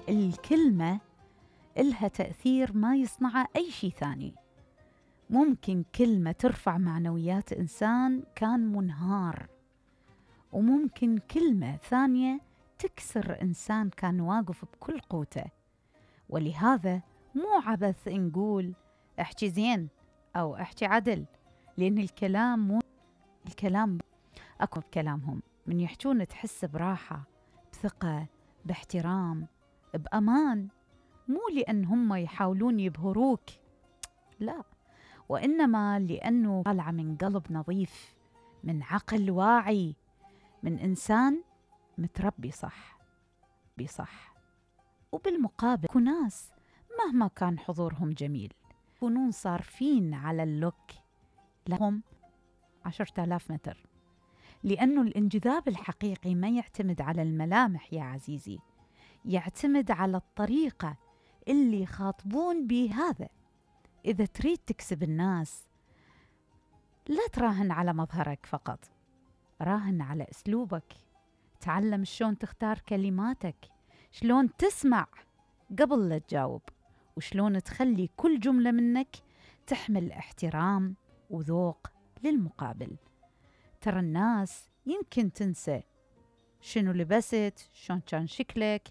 الكلمة إلها تأثير ما يصنعه أي شيء ثاني. ممكن كلمة ترفع معنويات إنسان كان منهار، وممكن كلمة ثانية تكسر إنسان كان واقف بكل قوته. ولهذا مو عبث نقول احكي زين أو احكي عدل، لأن الكلام أكو بكلامهم من يحجون تحس براحة، بثقة، باحترام، بأمان، مو لأن هم يحاولون يبهروك، لا، وإنما لأنه طالعة من قلب نظيف، من عقل واعي، من إنسان متربي صح بصح. وبالمقابل كو ناس مهما كان حضورهم جميل يكونون صارفين على اللوك لهم 10,000 متر، لأنه الانجذاب الحقيقي ما يعتمد على الملامح يا عزيزي، يعتمد على الطريقة اللي يخاطبون بهذا. إذا تريد تكسب الناس لا تراهن على مظهرك فقط، راهن على أسلوبك. تعلم شلون تختار كلماتك، شلون تسمع قبل لا تجاوب، وشلون تخلي كل جملة منك تحمل احترام وذوق للمقابل. ترى الناس يمكن تنسى شنو لبست، شلون كان شكلك،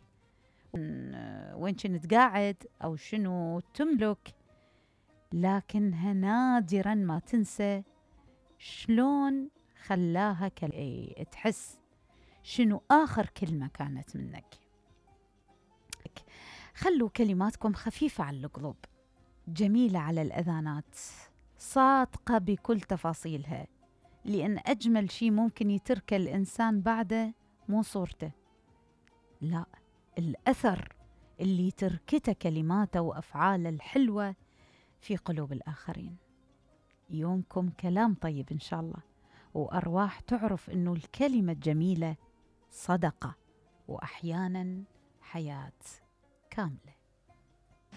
وين كنت قاعد، أو شنو تملك، لكنها نادراً ما تنسى شلون خلاها تحس، شنو آخر كلمة كانت منك. خلوا كلماتكم خفيفة على القلوب، جميلة على الأذانات، صادقة بكل تفاصيلها، لأن أجمل شيء ممكن يترك الإنسان بعده مو صورته، لا، الأثر اللي تركته كلماته وأفعاله الحلوة في قلوب الآخرين. يومكم كلام طيب إن شاء الله، وأرواح تعرف إنه الكلمة الجميلة صدقة، وأحياناً حياة كاملة.